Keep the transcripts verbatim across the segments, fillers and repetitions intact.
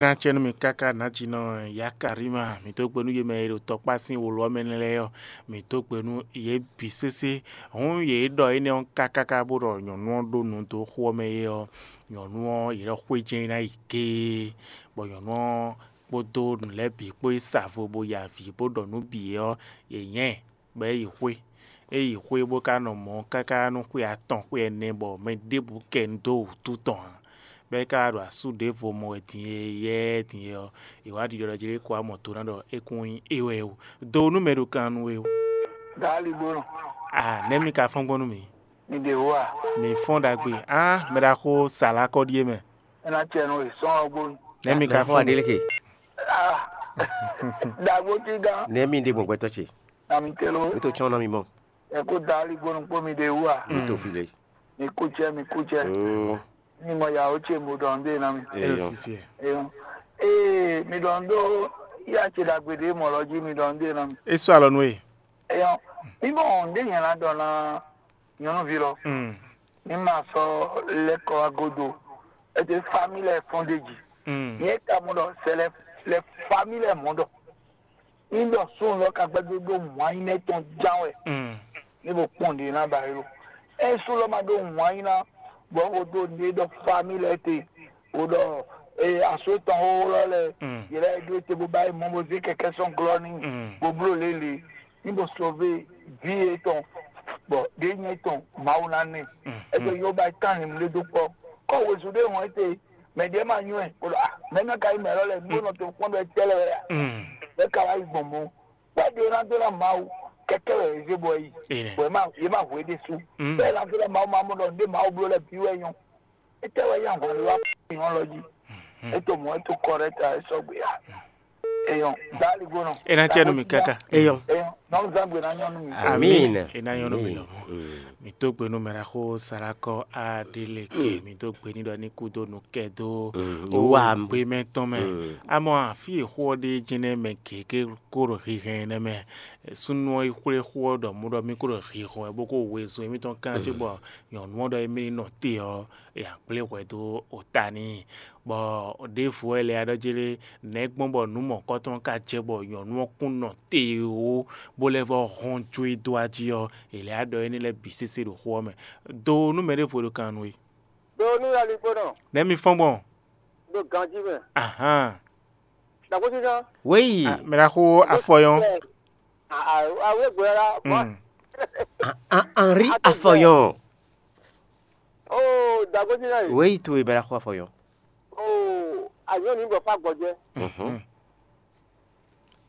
Ná acɛ nú mi káká nǎjínɔ Yakarima, mǐ dó gbe nú yě mɛ e ɖo tɔkpá sín wolo ɔ́ mɛ lɛ́ɛ ɔ́, mǐ dó gbe nú yě bǐ sésé. Hǔn yě ɖɔ énɛ́ ɔ́ káká bó ɖɔ nyɔ̌nu ɔ́ ɖó nǔ dó xó ɔ́ mɛ é ɔ́, nyɔ̌nu ɔ́ yě ɖɔ xwé jɛ́n é ná yi géé, bɔ nyɔ̌nu ɔ́ kpódó nǔ lɛ́ɛ bǐ kpó yi sa vo bó ya avǐ bó ɖɔ nǔ bǐ é ɔ́, yě nyɛ ɛ, bɔ é yi xwé. É yi xwé bó ka nɔ mɔ̌ káká nú xwé atɔn xwé ɛnɛ bɔ mɛ ɖěbǔ kɛ nu dó wǔtu tɔn ǎ. Bɔ é ka wá ɖo asú ɖěvo mɔ wɛ din e yɛ́ɛ din e ɔ́, è wǎ ɖiɖɔ ɖɔ jí é ko wá mɔ do ná ɖɔ é kún nyí é wɛ ó. Do nú mɛ ɖo kan nú we ó. Dali gbónɔ. A nɛ̌ mi ka fɔ́n gbɔn nú mì? Mi ɖe wú a? Mi fɔ́n ɖagbe. Á, mɛ ɖaxó Salakɔ ɖíe mɛ. É ná cɛ nú we sɔ́n ɔ́ gbónú. Nɛ̌ mi ka fɔ́n mì? Adeleke. Ah, dagbo ti gán. Nɛ̌ mi ɖe gbɔn gbɛtɔ́ ce? Na mi telo. Mi to tsɔ́n ná mi mɔ. Ẹ kó dali gbónú kpó mi ɖe wú a? Mi to fi lé. Mi kú cɛ, mi kú cɛ. Mm. Mi mɔ yàwó ce mo ɖɔ ndé ná mi. Eyɔn. Sisi ɛ. Eyɔn. Ee, mi ɖɔ ndó ya ce ɖagbe ɖé mɔ lɔ jí mi ɖɔ ndé ná mi. E sɔ alɔ nú e. Eyɔn. Mi mɔ ndé yẹn ná ɖɔ ná nyɔnuvi lɔ. Mm. Mi ma sɔ lɛkɔ agodo. Ete famille fondéji. Mm. Nyɛ ka mo ɖɔ c'est les les familles mɔ ɖɔ. Mi ɖɔ sun lɔ ka gbɛdó ɖó wǎn nyí nɛ tɔn ján wɛ. Mm. Ní bo kpɔn ɖě ná ba yó. Ɛ sun lɔ ma ɖó wǎn nyí ná bɔ wo ɖó ɖě ɖɔ famille te. Wo ɖɔ ee aso tɔn xóxó lɔ lɛ. Mm. Yɛ lɛ ɖó te bó ba yi mɔ bó zé kɛkɛ sɔn glɔ ní. Mm. Bó bló lélẹ̀. Ní bó sɔvé ví yětɔn bɔ ɖě nyɛ tɔn Mawu ná nɛ. Mm. Ɛ jɛ yóò ba tán ní mlé dó kpɔ. Kɔ wezun ɖé hɔn ete mɛ ɖě ma nywɛ. Bó ɖɔ ah mɛ ná ka yi mɛ lɔ lɛ bó nɔ tó kpɔn ɖɔ tɛlɛ wɛ ya. Mm. Bɛ ka wá yi gbɔn mɔ. Kpɛɖé ná dó ná Mawu kɛkɛ wɛ zé bɔ yi. Amen. Bɔ yě má yě má hwe ɖésú. Mm. Bɛɛ ná dó ná Mawu má mɔ ɖɔ ndé Mawu bló lɛ bǐ wɛ nyɔ. Étɛ́ wɛ yá hɔn wá nyɔ lɔ jí? Mm. Étò mɔ étò kɔrɛta é sɔgbe ya. Eyɔn dali gbónɔ. E ná tiɛ nú mi káká. Eyɔn. Eyɔn nɔnú zangbe ná nyɔ nú mi. Amin. E ná nyɔ nú mi lɔmɔ. Mm. Mi tó gbe nú mɛ ɖaxó Salakɔ Adeleke. Mm. Mi tó gbe ní ɖɔ ní kúdó nú kɛ dó. Mm. Ó wá gbé mɛ tɔn mɛ. Mm. Amɔ àfi èxó ɔ́ ɖé jɛnɛ mɛ gěgé kó ɖo hihɛn nɛ mɛ. Súnnu ɔ́ yi xwlé xó ɔ́ ɖɔ mú ɖɔ mí kó ɖo hihɔn wɛ bó kó wezun émítɔn kán cóbɔ nyɔ̌nu ɔ́ ɖɔ émí ní nɔ te ɔ́, è nǎ kplé hwɛ dó ota n'i. Bɔ ɖěvo wɛ lɛ́ ɖɔ jlé nɛ̌ gbɔn bɔ nǔ mɔ̌kɔtɔn ka jɛ bɔ nyɔ̌nu ɔ́ kún nɔ te ó, bó lɛ́ vɔ́ hɔn jó e dó ají ɔ́, è lɛ́ ɖɔ énɛ́ lɛ́ɛ bǐ sésé ɖo xó ɔ́ mɛ. Do nú mɛ ɖěvo e ɖo kan nú we. Do nú aligbónɔ. Nɛ̌ mi fɔ́n gbɔn? Do ganjí mɛ. Ahán. Dàgbójúná. Wéyì. Mɛ ɖaxó afɔyɔn. Awé gbɛ́ la. Mm. Henri afɔyɔn. Oh, dàgbójúná yìí. Wéyì towe mɛ ɖaxó afɔyɔn. Oh, àyàn ní bọ̀ fún àgbọ̀jẹ́. Mhm.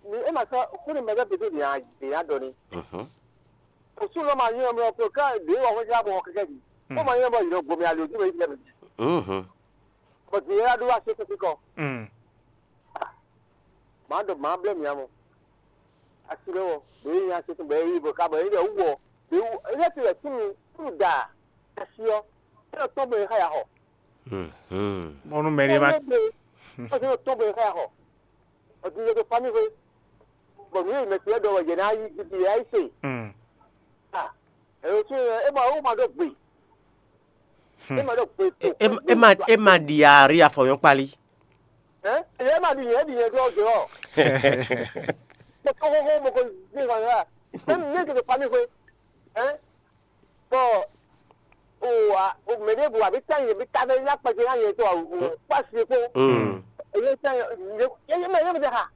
Ni e ma sɔ kúni mɛ bɛ bebe de ya de ya dɔ ni. Mhm. Osu lɔ ma nyɔ mɛ ko ka de wa hɔn ja bɔ kɛkɛ di. Ko ma nyɔ bɔ yɔ gbomi ali ojú bɛ yi tɛ mi. Mhm. Bɔ di ya do wa se kɛkɛ kɔ. Mm. Ma ɖo ma blɛ mia mɔ. Asi ɖe wɔ. Be yi asi tun bɛ yi bɔ ka bɔ yi ɖe wɔ. Be wu ele ti yɛ tunu tunu da. Asi ɔ. Ele tɔn bɛ yi xa ya xɔ. Mhm. Mɔnu mɛ ɖe ma. Ɔtí yóò tɔn bɔ yẹ ká yà xɔ. Ɔtí yóò tó fami xwe. Bɔ nù yóò mɛ tiɛ dɔ wɛ yɛ náà yí gidi yɛ ayí se. Mm. Ah, èrò tún yɛ é ma ó ma ɖó gbe. Hmm. É ma ɖó gbe. E, e, e ma e ma ɖi ari afɔyɔn kpali. Ɛ ɛ ma ɖi yɛ ɖi yɛ dɔ dɔ. Mo kɔ kɔkɔ mo kɔ gbé kan yà. Ɛ mi yóò tó fami xwe. Ɛ bɔ o wa o mɛ ɖé bu àbí tán yẹn bí tá fẹ́ yá kpɛtɛ yá yẹn tó a o kpasi kpó. Mm. Èyí tán yẹn yẹn mɛ yẹn mi dẹ ha.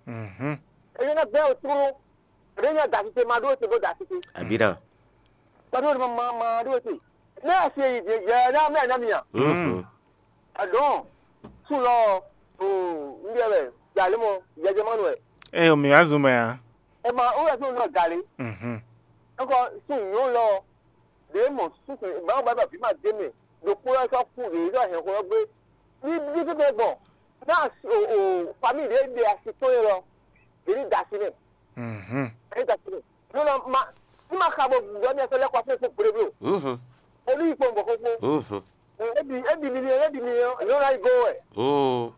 Mhm. Èyí náà bẹ́ẹ̀ o tóó èyí náà dàtí te ma ɖó te bó dàtí te. Àbí náà. Pàdé o ma ma ɖó te náà ṣe yẹ náà mẹ́rin náà mìíràn. Mhm. Àdán sùn lọ o ń bí ẹ bẹ̀ yàrá mọ́ yẹjẹ mọ́nu ẹ̀. Ẹ ò mì wá zùn mọ́ ya. Ẹ ma ó yẹ kí n nọ gàlí. Mhm. Ẹkọ sùn yóò lọ. Ɖě mɔ súnfɛ gbǎn bàbá bí máa dé mɛ ɖokpó lɔ sɔ́ kú ɖě lɔ hɛn xó lɔ gbé. Ní bí tó tɛ gbɔn náà o o famille ɖě ɖe asi tó yɛ lɔ. Ɖě ní da asi mɛ. Mhm. Ɖě ní da asi mɛ. Ní ma ní ma xa bɔ gbɔdɔ mi ɛsɛ lɛ kɔ fún fún gbéɖé bló. Mhm. Olú yìí kpɔn bɔ kókó. Mhm. Ebi ebi mi ni ebi mi ni yóò náà yí gó wɛ. Mhm.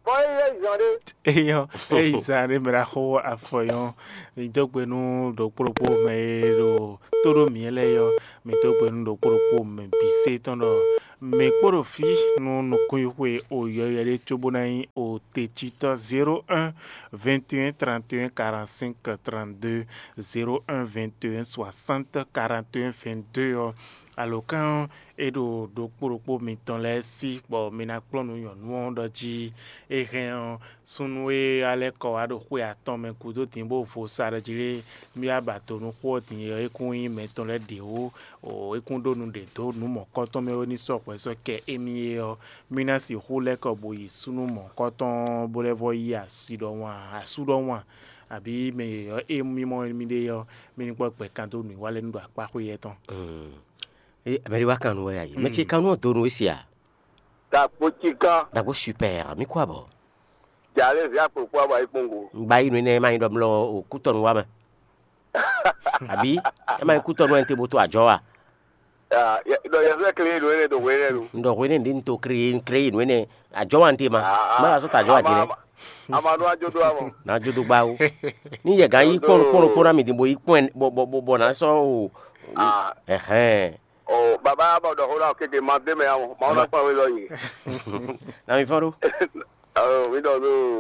Bɔ é yɛ zɔn ɖé. Eyɔ, eyi zan ɖé mɛ ɖo axɔ afɔyɔn. Mi dó gbe nú ɖokpó ɖokpó mɛ e ɖo tó ɖó mǐ lɛ́ɛ yɔ. Mi dó gbe nú ɖokpó ɖokpó mɛ bǐ sé tɔn ɖɔ Mǐ kpo ɖo fí nú nukúnxwixwe o yɔywɛ ɖé cóbó ná nyí o tecítɔ́ zéro un vingt et un trente et un quarante-cinq trente-deux, zéro un vingt et un soixante quarante et un vingt-deux ɔ́, alǒkan ɔ́, é ɖo ɖokpó ɖokpó mitɔn lɛ́ɛ sí, bɔ mi ná kplɔ́n nú nyɔ̌nu ɔ́ ɖɔ jí é hɛn ɔ́, súnnu e alɛ́ kɔ wá ɖo xwe atɔn mɛ gúdo din bó vo sa ɖɔ jí lé, mì wá ba do nú xó ɔ́ din é kún nyí mɛtɔn lɛ́ɛ ɖě ó. O é kún ɖó nu ɖě dó nǔ mɔ̌kɔtɔn mɛ wɛ ní sɔ́ hwɛ sɔ́ kɛ émí é ɔ́, mì ná sixú lɛ́ kɔ bo yi súnnu mɔ̌kɔtɔn bó lɛ́ vɔ yí asi ɖɔhun a, asú ɖɔhun a, abǐ mɛ yɔ̌yɔ́ e mì mɔ mì ɖe ɔ́, mì ní kpɔ́ gbɛ kan dó nǔwiwa lɛ́ɛ nú ɖo akpá xwé yɛ́ tɔn. Ée mɛ ɖé wá kan nú wɛ a yě? Mɛ ce kan nú ɔ́ do nú we se a? Dagbo cikan. Dagbo super, mì kú abɔ. Jalé zia kpokpo abo ayi kpongo. Ŋgba yi nú énɛ́ ma nyí ɖɔ mlɔ o kútɔnu wa mɛ. Àbí ɛ ma nyí kútɔnu wɛ n te bo to àjɔ wa? Ɖɔ yɛsɛ kle nú énɛ́ do hwe énɛ́ nu. N ɖɔ hwe énɛ́ ɖě n to kle kle nú énɛ́ àjɔ wa n te ma. Ma wa sɔ́ ta àjɔ wa din lɛ. Ama nú ajo do amɔ. Na ajo do gba wo. Ní yɛ gán yí kpɔn kpɔn kpɔn na mi din bo yí kpɔn bɔ bɔ bɔ na sɔ o. Ɛhɛn. Ɔ baba bɔ ɖɔ xó ɖɔ kéke ma dé mɛ ya mɔ ma wona kpɔn wé lɔ nyi. Na mi fɔn ɖo. Ɔ mi ɖɔ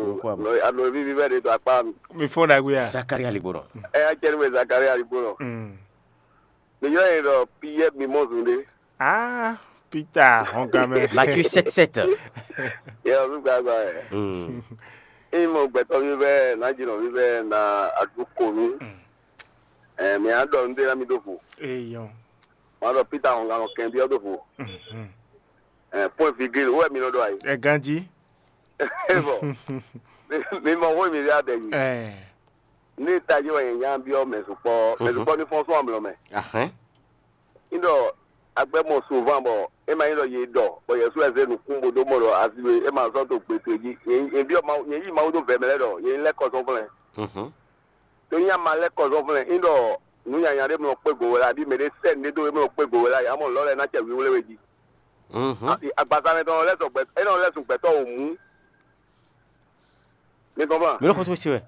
Nukú abɔ. No alo vivi vɛ de to akpa mi. Mi fɔn ɖagbe ya. Zakari aligbonɔ. Ɛ ya cɛ ni mɛ Zakari aligbonɔ. Mm. Mi yɔ yɛ ɖɔ Piyɛ mi mɔ zun de. Ah, Peter hɔngamɛ. Matthieu sept sept. Yɛ ɔ mi gba gba yɛ. Mm. Imi mɔ gbɛtɔ mi vɛ na jinɔ mi vɛ na adu ko mi. Mm. Ɛ mi a ɖɔ nu de na mi do vo. Eyɔn. Ma ɖɔ Peter hɔngan nɔ kɛn biɔ do vo. Mhm. Ɛ point virgule wo wɛ mi nɔ ɖɔ ayi. Ɛ ganji. Bɔn mi mɔ xó mi ɖe adɛ yi. Ɛ. Ne tají wɛ nyɛ nya biɔ mɛ sukpɔ mɛ sukpɔ ní fɔn sɔn amlɔ mɛ. Ahɛn. Ní ɖɔ agbɛ mɔ sovan bɔ e ma nyí ɖɔ yě ɖɔ bɔ yɛsu ɛsɛ nukún bo dó mɔ ɖɔ asi e ma sɔ́ to gbe towe jí. Nyɛ biɔ Mawu nyɛ yí Mawu dó vɛ̌ mɛ lɛ́ɛ ɖɔ yě lɛ́ kɔ sɔ́ flɛ́n. Mhm. To nyí ama lɛ́ kɔ zɔ́nflɛ́n é ɖɔ nǔ nyanya ɖé mlɔ kpé go wɛ la abí mɛ ɖé sɛ́ nǔɖé dó é mlɔ kpé go wɛ la yě amɔ lɔ̌ lɛ́ɛ ná cɛ wíwlé we jí. Mhm. Agbaza mɛ tɔn lɛ́ sɔn gbɛ é nɔ lɛ́ sun gbɛtɔ́ wǒ mú. Mi kɔn flan. Mi lɔ xɔtɔn se wɛ.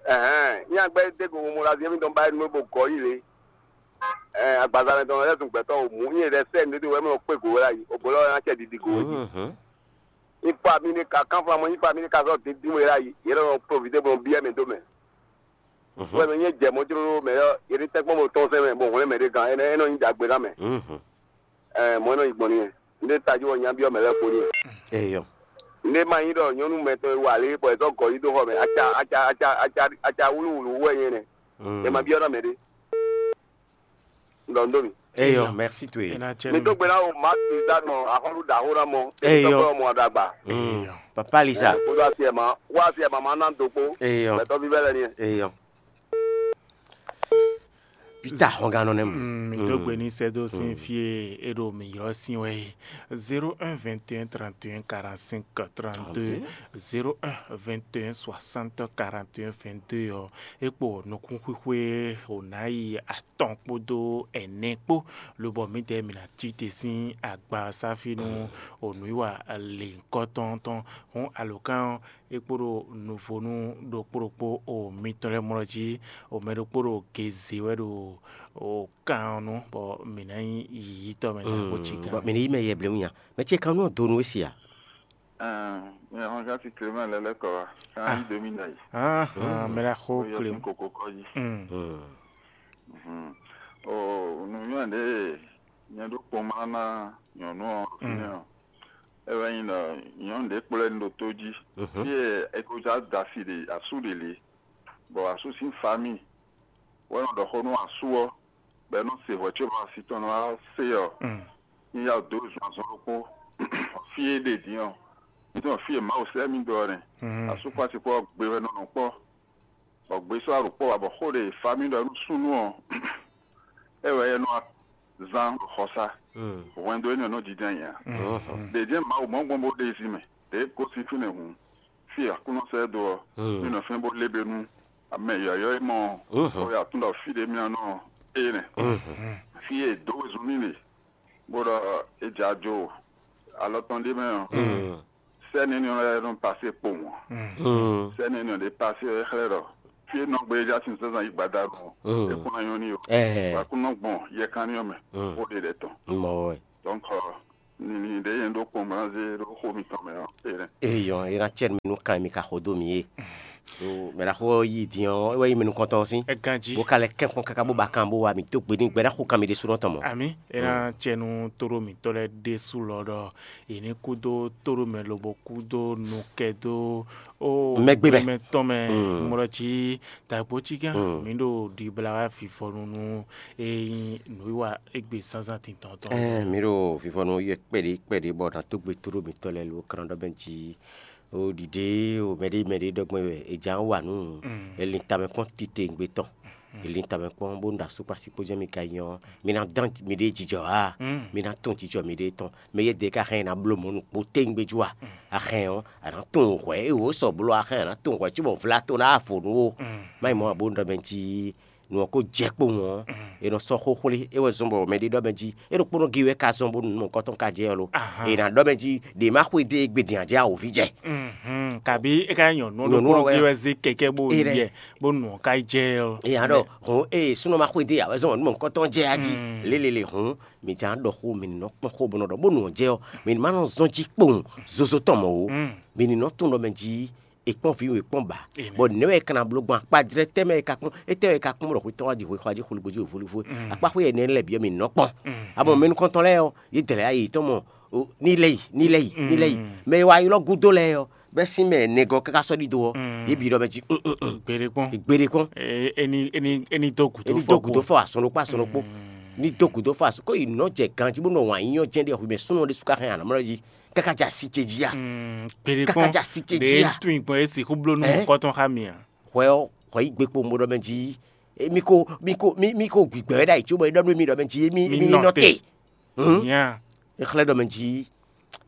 Ɛhɛn nyí agbɛ dé go mo la zé mi tɔn ba é nú bo gɔ́ yi lé. Ɛɛ agbaza mɛ tɔn lɛ́ sun gbɛtɔ́ wǒ mú nyí ɖɛ sɛ́ nǔɖé dó wɛ mlɔ kpé go wɛ la yi òbó lɔ́ ná cɛ ɖiɖi go wɛ jí. Mhm. Ipa mi ní ka kánflamɔ ipa mi ní ka zɔ dídí wɛ la yi yě lɔ profité bɔ biɛ mɛ dó mɛ. Mhm. Wɛ mɛ nyɛ jɛ mɔ jló mɛ yɔ yě ní tɛ́nkpɔ́n bɔ tɔn sɛn mɛ bɔ hwlɛ́n mɛ ɖé gán ɛnɛ ɛnɔ nyí dagbe ná mɛ. Mhm. Ɛ mɔ ɛnɔ yi gbɔn n'i. Ndé tají wɔ nya biɔ mɛ lɛ́ɛ kpo n'i. Eyɔ. Ndé ma nyí ɖɔ nyɔnu mɛtɔn e wa lě bɔ è zɔ gɔ̌ yi dó xɔ mɛ aca aca aca aca aca wúlúwúlú wɛ nyɛ nɛ. Mm. È ma biɔ ná mɛ ɖé. Ndɔ ndó mi. Eyɔ, merci to ye. Mi dó gbe ná o Mark Lisa nɔ axɔ́lú ɖaxó ná mɔ. Eyɔ. Tɔkpɔ mɔ ɖagba. Mm. Papa Lisa. Kódó asi ẹ̀ ma wá asi ẹ̀ ma ma ná do kpó. Eyɔ. Gbɛtɔ vívɛ lɛ ni. Eyɔ. Peter xɔgannɔ nɛ mu. Mm, mi dó gbe ní sɛ́ dó sín fí e é ɖo mǐ ylɔ́ sín wɛ é. Zéro un vingt et un trente et un quarante-cinq trente-deux, zéro un vingt et un soixante quarante et un vingt-deux ɔ́, é kpo nukúnxwíxwé ò ná yi atɔn kpódó ɛnɛ kpó, lobɔ mǐdɛɛ mǐ ná cí te sín agba sáfí nú onǔwiwa lǐnkɔ́tɔn tɔn. Hɔn alǒkan ɔ́, é kpo ɖo nuvonu ɖokpó ɖokpó o mitɔn lɛ́ɛ mlɔ́ jí, o mɛ ɖokpó ɖo geze wɛ ɖo o kan ɔ́ nu, bɔ mǐ ná nyí yiyítɔ́ mɛ ná xó cí kan. Bɔ mǐ ní yí mɛ yɛ blewun nya. Mɛ ce kan nú ɔ́ do nú we si a? Ɛɛ, mi hɔn gasi Clément lɛ lɛ kɔ wa. Kan yi domi na yi. Ahan, mɛ la xó Oyo Clément. Sin koko kɔ yi. Mm. Mm. Mhm. O nuyɔn ɖe nyɛ ɖo kpɔn ma na nyɔnu ɔ fi nɛ ɔ. E wɛ nyi ɖɔ nyɔnu ɖe kplɔ́ ɛ ɖo tó jí. Mhm. Fie ekoza dasi ɖe asu ɖe le, bɔ asu sín fami wɛ nɔ ɖɔ xó nú asu ɔ, bɔ é nɔ se hwɛ có bɔ asi tɔn nɔ wá se ɔ. Mm. Ní yá dó zɔn azɔn ɖokpó. Fí e ɖe din ɔ, nítorí fí e Mawu sɛ́ mì dó ɔ́ nɛ́. Mhm. Asú kpó asi kpó ɔ́ gbe wɛ nɔ nɔ kpɔ́, bɔ gbe sɔ́ aɖǔkpɔ́ wá bɔ xó ɖe e fa mì ɖɔ nú súnnu ɔ́, é wɛ é nɔ zán ɖo xɔsá. Mm. Hwɛndo énɛ́ nɔ jínjɔ́n ayǐ ǎ. Mhm. Ɖě jɛ́n Mawu mɔ̌ gbɔn bó ɖe zi mɛ, ɖě gosín fínɛ́ hǔn, fí e Aklúnɔ sɛ́ ɛ dó ɔ́, mì nɔ fɛ́n bó lé be nú mɛ yɔ̌yɔ́ e mɔ ɔ́, bó ya tún ɖɔ fí ɖě mì nɔ nɔ é nɛ́. Mhm. Fí e è dǒ wezun n'i ɖe, bó ɖɔ è jɛ ajo alɔ tɔn ɖé mɛ ɔ́, sɛ́ni énɛ́ lɛ́ɛ nɔ pasé kpowun ǎ. Mm. Sɛ́ni énɛ́ ɖě pasé ɔ́ é xlɛ́ ɖɔ fí e nɔ gbe é já sin zǎnzǎn yi gbadanu ɔ́, é kún ná nyɔ́ n'i ó. Ɛɛ. Bɔ Aklúnɔ gbɔn yɛkanlin ɔ́ mɛ, bó ɖe ɖɛ tɔn. Mɔ wɛ. Donc, Nini ɖě nyɛ ɖó kpɔ́n bó ná zé ɖó xó mitɔn mɛ ɔ́, é nɛ́. Eyɔn, é ná cɛ nú mi nú kan e mi ka xo dó mì é. Ɖo mɛ ɖaxó ɔ́ yí din ɔ́, é wɛ nyí mɛ nukɔntɔn ɔ́ sín. É ganjí. Bó ka lɛ́ kɛ́n kpɔ́n káká bó ba kan bó wá mì dó gbe n'i gbɛ ná xo kan mi ɖésúnɔ tɔn mɔ. Àmì, é ná cɛ nú tóɖó mǐtɔn lɛ́ɛ ɖésú lɔ ɖɔ yě ní kú dó tóɖó mɛ lobo kú dó nukɛ dó ó Mɛgbé mɛ. Mɛ tɔn mɛ. Mm. Mɔɖɔ jí dagbo cí gán. Mm. Mǐ ɖo ɖibla wá fifɔnu nú é nyí nǔwiwa égbé zánzán tintɔn tɔn. Ɛɛ, mǐ ɖo fifɔnu yɛ kpɛɖé kpɛɖé bɔ nǎ dó gbe tóɖó mǐtɔn lɛ́ɛ lo kran ɖɔ mɛ jí. O ɖiɖe o mɛɖé mɛɖé ɖɔ gbɔn wɛ è jǎ wa nǔ. Mm. È lin tamɛ kpɔ́n titewungbe tɔn. Mm. È lin tamɛ kpɔ́n bó ɖo asú kpó así kpó jɛ́n mi ka nyɔ. Mi ná dán miɖée jijɔ a? Mm. Mi ná tɔn jijɔ miɖée tɔn. Mɛ yɛ́dɛɛ ka hɛn ná bló mɔ̌ nukpó tewungbe jú a? Mm. A hɛn ɔ́, a nǎ tunwun hwɛ̌ e wǒ sɔ bló a hɛn a nǎ tunwun hwɛ̌ cóbɔ vla to ná vo nú ó. Mm. Má nyí mɔ̌ ǎ bó ɖɔ mɛ jí nǔ ɔ́ ko jɛ kpowun ɔ́, Mm. è nɔ sɔ́ xó xwlé, é wɛ zɔ́n bɔ mɛɖé ɖɔ mɛ jí é ɖokpónɔ gé wɛ ka zɔ́n bónú nǔ mɔ̌hunkɔtɔn ka jɛ ɔ́ lo. Ahan. È nǎ ɖɔ mɛ jí ɖě má xwedó e gbe din ǎ jɛ awǒví jɛ. Mhm. Kabi é ka nyɔ nǔ Nyɔ̌nu ɖokpónɔ ɔ́ wɛ. Gé wɛ zé kɛkɛ bó Ée yi ɖɛ. Jɛ bó nǔ ɔ́ ka yi jɛ ɔ́. È nǎ ɖɔ hɔn ée súnnu ma xwedó ǎ wɛ zɔ́n nǔ mɔ̌hunkɔtɔn jɛ á jí. Mm. Lélele hɔn mǐ jǎ ɖɔ xó mǐ ní nɔ kpɔ́n xó bó nɔ ɖɔ bónú ɔ́ jɛ ɔ́, mǐ ní má nɔ zɔ́n jí kpowun zozo tɔn mɔ̌ ó. Mm. Mǐ ní nɔ tunwun ɖɔ mɛ jí è kpɔ́n vǐ, è kpɔ́n ba. Amen. Bɔ nɛ̌ wɛ è ka ná bló gbɔn akpajlɛ́ tɛ́ mɛ è ka kpɔ́n, étɛ́ wɛ è ka kpɔ́n bɔ xwetɔ́ wá ji xwexwá jí xwlígbó jí vólífó é? Mm. Akpá xwé ɛnɛ lɛ́ɛ bǐ ɔ́, mǐ nɔ kpɔ́n. Mm. Abɔ mɛnukɔntɔn lɛ́ɛ ɔ́, yě dlɛ̌ yá yětɔn mɔ, o, ní lɛ́ yi, ní lɛ́ yi, ní lɛ́ yi. Mm. Mɛ e wá ylɔ́ gúdo lɛ́ɛ ɔ́, bɛ́ sín mɛ nɛgɔ́ káká sɔ́ ɖidó ɔ́, Mm. yě bǐ ɖɔ mɛ jí, mm, mm, mm. Gbére kpɔ́n. Gbére kpɔ́n. E- eni eni eni dó gǔdo Ní dó gǔdo fɔ asɔn ɖokpó asɔn ɖokpó. Mm. Ní dó gǔdo fɔ asɔn kó yi nɔ jɛ ganjí bó nɔ wǎn nyí ɔ́ jɛ́n ɖé xwimɛ súnnu ɖé sú ká hɛn anamlɔ jí. Káká ja sí ce jí a? Mm, gbére Káká kpɔ́n. Ja sí ce Ɖe jí a? Tún gbɔn esi xó bló nú Ɛ? Mɔ̌kɔtɔn xá mi a? Hwɛ ɔ́, hwɛ yí gbe kpo mo ɖɔ mɛ jí. E, mi ko mi ko mi mi ko gbigbɛ wɛ ɖ'ayǐ cóbɔ é ɖɔ nú mi ɖɔ mɛ jí mi Mi mi nɔ nɔ te. Te. Hmm? Nya. E xlɛ́ ɖɔ mɛ jí.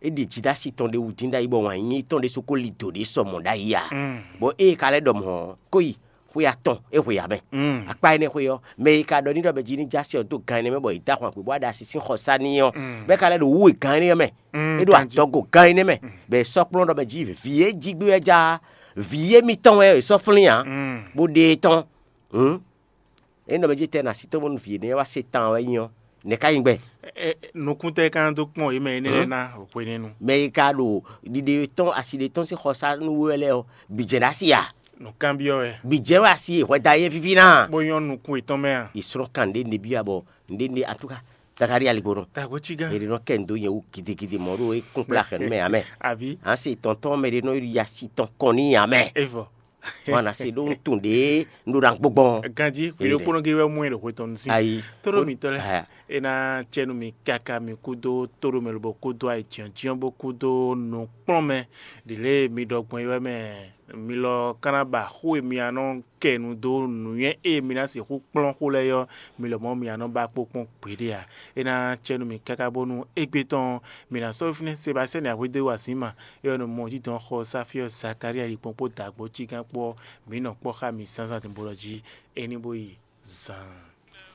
E ɖi jidasi tɔn ɖe wú dín ɖ'ayǐ bɔ wǎn yíyí tɔn ɖé soko li dǒ ɖé sɔ mɔ̌ ɖ'ayǐ a? Mm. Bɔ ée ka lɛ́ ɖɔ mɔ̌ ɔ́, kó yi xwé atɔn é hwe ǎ mɛ. Mm. Akpá énɛ́ xwé ɔ́, mɛ e ka ɖɔ n'i ɖɔ mɛ jí ní jásí ɔ́ dó gan énɛ́ mɛ bɔ è dó ahwan gbě bó wá ɖe asi sín xɔsá n'i ɔ́, Mm. bɔ é ka lɛ́ ɖo wǔ e gan énɛ́ mɛ. Mm, É ɖo ganjí. Adɔgo gan énɛ́ mɛ, Mm. bɔ è sɔ́ kplɔ́n ɖɔ mɛ jí vǐ e jí gbé wɛ já, vǐ émítɔn wɛ è sɔ́ flín ǎ, Mm. bó ɖe e tɔn. Hǔn, é nɔ mɛ jí tɛ na sí tɔn bónú vǐ énɛ́ wá se tan wɛ nyí ɔ́, nɛ̌ ká nyí gbɛ? Ɛ, ɛ, nukún tɛ kan dó kpɔn yě mɛ énɛ́ lɛ́ɛ ná hwenɛ́nu. Mɛ e ka ɖo ɖiɖe tɔn asi ɖe tɔn sín xɔsá nú we wɛ lɛ́ɛ ɔ́, bǐ jɛ ɖo asi a? Nǔkanbyɔ́ wɛ. Bǐ jɛ wɛ asi hwɛda e víví ná. Bó nyɔ́ nukún yětɔn mɛ a? Yi srɔ́ kan ɖé nɖé byɔ́ abɔ nɖé nɖé atúka Zakalía ligbo nɔ. Dagbo cí gán. Mɛ ɖé nɔ kɛ ndo nyɛ wú gidigidi mɔ ɖo é kún kplá xɛ nú mɛ amɛ. Àbí? An se tɔntɔn mɛ ɖé nɔ yi asi tɔn kɔn ní amɛ. Evɔ. Wana se ɖó ŋutun ɖé un ɖo ɖa gbɔgbɔn. Ganji Ee, hwile ɖe. Kpɔnɔ ge wɛ mɔ ɛ ɖo hwe tɔn si. Ayi. Toro mi tɔ lɛ. Aya. E na cɛ nu mi kaka mi kudo toro mɛ lobo kudo ayi tiɔn tiɔn bo kudo nukplɔn mɛ. Ɖile mi ɖɔ gbɔn yi wɛ mɛ. Mi lɔ kana ba xó e mi anɔ kɛ nu dó nǔnywɛ́ e mi ná sixú kplɔ́n xó lɛ́ɛ ɔ́, mi lɔmɔ̌ mi ná nɔ ba kpó kpɔ́n gbeɖé ǎ. É ná cɛ nú mi káká bónú égbé tɔn ɔ́, mi ná sɔ́ fínɛ́ Sebastiyani Axwédéwú Asíma, é ɔ́ nɔ mɔ jǐdɔn xɔ Sáfíɔ Zakalía ɖikpɔ́n kpó dǎgbó cígán kpó ɔ́, mǐ nɔ kpɔ́ xá mi zǎnzǎn bo lɔ jí, é ní bó yi zaan.